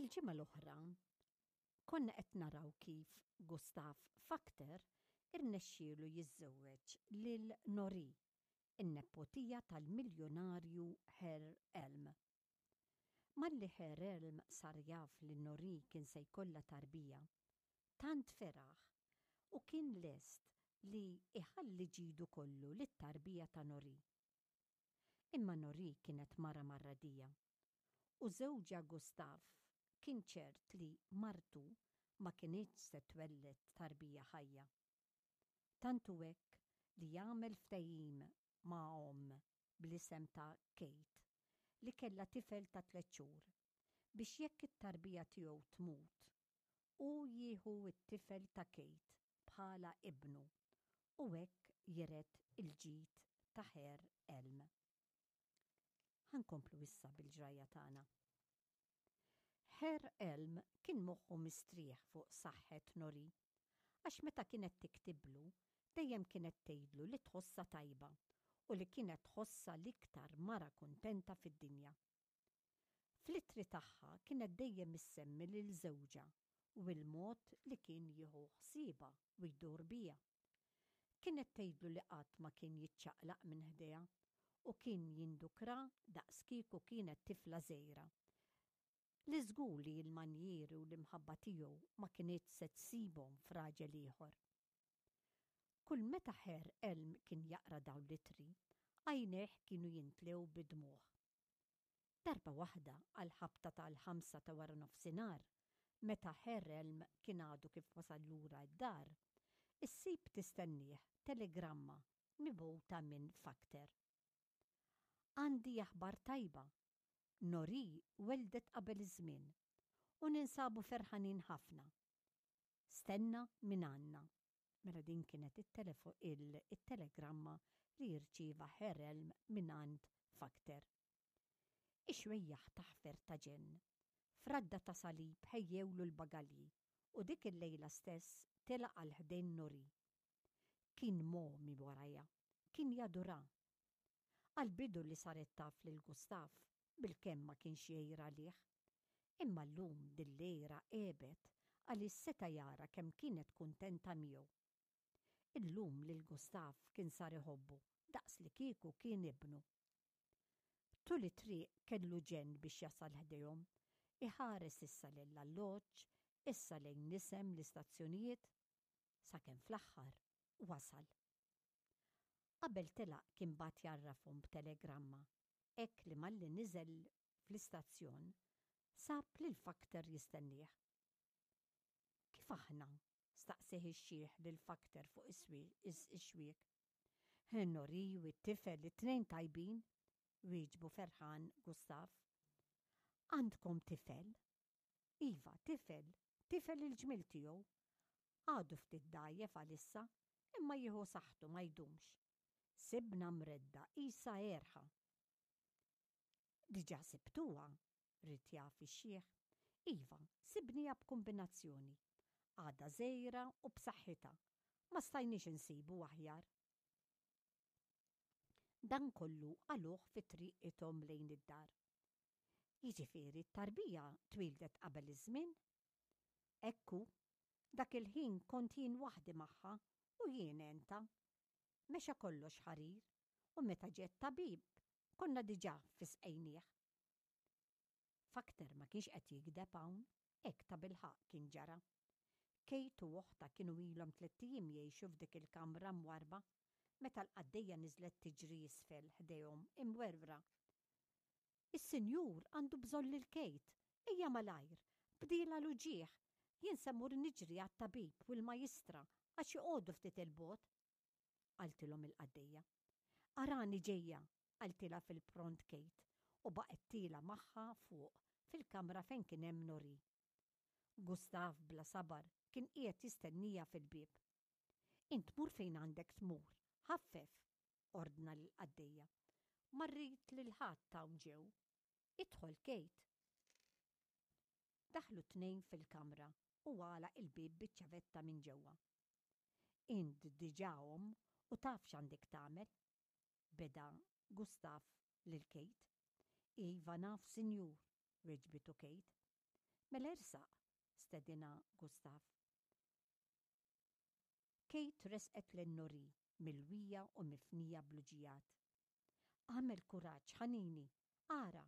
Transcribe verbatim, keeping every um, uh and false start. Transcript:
Il-ġimgħa l-oħra konna qed naraw kif Gustav Fakter irnexxielu jiżżewweġ lil Nori, in-nepotija tal-miljonarju Herr Elm. Malli Herr Elm sar jaf li Nori kien se jkollha tarbija, tant feraħ u kien lest li iħalli ġidu kollu lit-tarbija ta' Nori. Imma Nori kienet mara marradija u żewġha Gustav kien ċert li martu ma kinitx se twelled tarbija ħajja. Tant hu hekk li jagħmel ftehim ma' omm bl-isem ta' Kate li kellha tifel ta' tliet xhur biex jekk it-tarbija tiegħu tmut, hu jieħu t-tifel ta' Kate bħala ibnu u hekk jiret il-ġid ta' Herr Elm. Ħa nkomplu issa bil-ġrajja tagħna. Herr Elm kien moħħu mistrieħ fuq saħħet Nori, għax meta kienet tiktiblu, dejjem kienet tgħidlu li tħossha tajba u li kienet tħossha l-iktar mara kuntenta fid-dinja. Fl-ittri tagħha kienet dejjem issemmi lil żewġha u l-mod li kien jieħu ħsiebha u jdur biha. Kienet tgħidlu li qatt ma kien jiċċaqlaq minn ħdejha u kien jindukra daqs kieku kienet tifla żgħira. Li żgur li l-manjieri u l-imħabba tiegħu ma kinitx se tsibhom f'raġel ieħor. Kull meta Herr Elm kien jaqra dawn l-ittri, għajnejh kienu jintlew bid-dmugħ. Darba waħda għal ħabta tal-ħamsa ta' wara nofsinhar, meta Herr Elm kien għadu kif wasal lura d-dar, issib tistennieh telegramma mibgħuta minn Fakter. Għandi aħbar tajba. Nori weldet qabel iż-żmien u ninsabu ferħanin ħafna. Stenna minn għandna. Mela din kienet il-telegramma li jirċieva Herr Elm minn għand Fakter. Ix-xwejjaħ taħfer ta' ġenn. F'radda ta' salib ħejjewlu l-bagalji u dik il-lejla stess telaq għal ħdejn Nori. Kien mogħmi warajha, kien jadura. Għal-bidu li saret taf lil Gustav bilkemm ma kienx jgħir għalih. Imma llum dil-lejra għebet għaliex seta' jara kemm kienet kuntenta miegħu. Illum lil Gustav kien sar iħobbu daqs li kieku kien ibnu. Tul it-triq kellu ġenn biex jasal ħdejhom, iħares issa lill-alloġġ, issa lejn nisem l-istazzjonijiet, sakemm fl-aħħar wasal. Qabel telaq kien bagħat jgħarrafhom b'telegramma, hekk li malli niżel fl-istazzjon sab lil Fakter jistennieh. Kif aħna? Staqsieh ix-xiħ lil Fakter fuq ix-xwiek. Nori u t-tifel it-tnejn tajbin, wieġbu ferħan Gustav. Għandkom tifel? Iva, tifel, tifel il-ġmil tiegħu. Għadu ftit dgħajjef għalissa, imma jieħu saħħtu ma jdumx. Sibna mredda isa erħa. Diġà sibtuha, ried jaf ix-xiħ. Iva, sibniha b'kombinazzjoni. Għadha żgħira u b'saħħitha. Ma stajniex insibu aħjar. Dan kollu qaluh fi triqithom lejn id-dar. Jiġifieri t-tarbija twildet qabel iż-żmien? Ekku, dak il-ħin kont jien waħdi magħha u jien għentha. Mexa kollox ħarir u meta ġie t-tabib konna diġà fisqejnieh. Fakter ma kienx qed jigdeb hawn, hekk tabilħaqq kien ġara. Kate u oħtha kienu ilhom tlett ijiem jgħixu f'dik il-kamra mwarba meta l-qaddejja niżlet tiġri isfel ħdejhom imwerwra. Is-sinjur għandu bżonn lil Kate, ejja malajr, bdielha l-uġigħ, jien se mmur niġri għat-tabib u l-majstra għax joqogħdu ftit il-bogħod. Qaltilhom il-qaddejja. Arani ġejja, qaltilha fil-pront Kate u baqgħet tiela' magħha fuq fil-kamra fejn kien hemm Nori. Gustav bla sabar kien qiegħed jistenniha fil-bieb. Int mur fejn għandek tmur, ħaffef, ordna l-qaddejja. Ma rrid lil ħadd hawn ġew. Idħol Kate. Daħlu tnejn fil-kamra u għalaq il-bieb biċ-ċavetta minn ġewwa. Int diġà omm u taf x'għandek tagħmel? Beda Gustav lil Kate. Iva naf, sinjur, weġbitu Kate. Mela ersaq, stedinha Gustav. Kate resqet lejn Noree, milwija u mifnija bl-uġigħat. Agħmel kuraġġ, ħanini, ara,